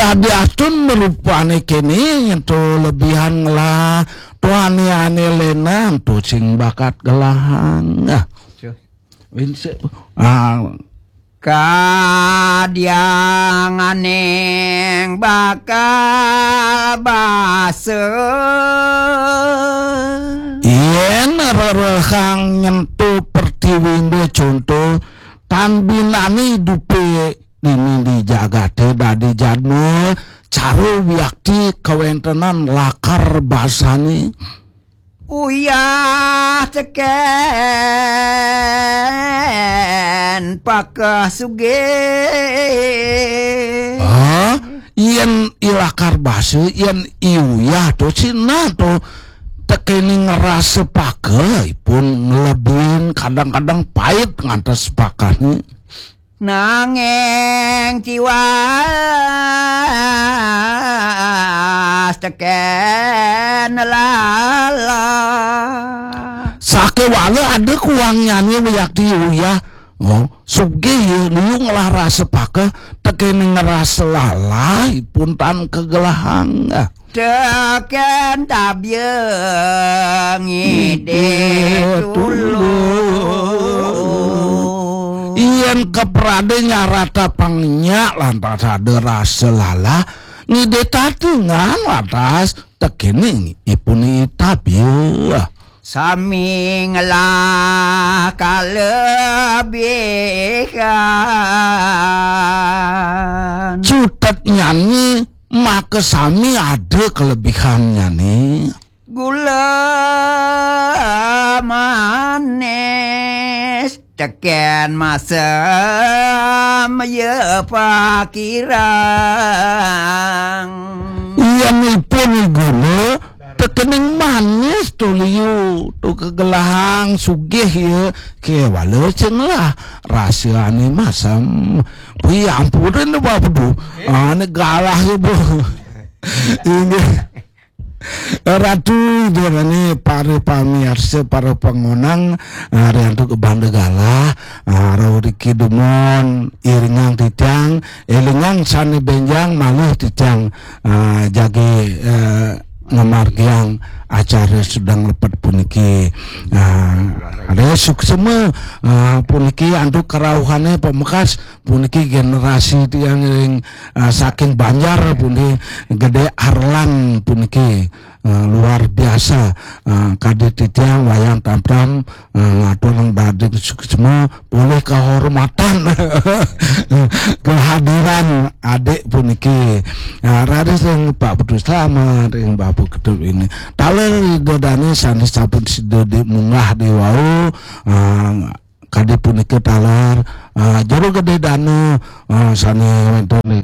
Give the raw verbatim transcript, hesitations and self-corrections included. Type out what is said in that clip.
Adi astun merupane kene ento lebihan ngelah tuane ane lenan tu sing bakat gelahang. Ah. Winse. Ah. Kadianganing bakal basa. Yen rerehang nyentuh pertiwi, contoh, tan binani idupe dini di jagate dadi jadma, cara wiakti kawentenan lakar basane. Uyah teken pakeh sugih. Ah, yen i lakar basa, yen i uyah to, sina to tekene ngerasa pakeh, ipun ngelebihin, kadang-kadang pait ngantos pakehne. Nanging tiwas teken lala. Sakewala ada kuangnyane wiakti uyah. Oh, sugih ya, liu ngelah rasa pakeh, tekene ngerasa lala, ipun tan kegelahang. Ah. Teken tabia ngidih tulung. Yen keprade nyarata pangnya lantas ada rasa lala, ngidih tatingan lantas tekene ipun tabia. Sami ngelah kalebihan. Cutetnyane maka sami ada kelebihannyane. Gula manis teken masem ya pakirang. Yen ipun gula tekening manis to liu, to kegelahang sugih ya, kewala sing lah rasane masem. Wi, ampunin, Bapak Bedu. Ane galah ya, Bu. Inggih. Ratu, Idane, para pamiarsa, para pangonang, ah, riantuk banda galah, ah, rau riki dumun, iringang titiang, elingang sane benjang malih titiang, ah, jagi, eh, ngamargiang acara sedang lepet puniki. Ah, ada suksema, ah, puniki antuk kerauhane pamekas, puniki generasi tiang ring, ah, saking Banjar puniki, Gede Arlan puniki, ah, luar biasa. Ah, kadi titiang wayang tam-tam, ah, ngatur dadi suksma, polih kehormatan kehadiran adik puniki. Ah, raris ring Pak Putu Slamet, ring Bapak Ketut ini. Taler Ida Dane sane sampun sida di munggah di wau, ah, kadi punika taler, ah, Jero Gede Danu, ah, sane wenten di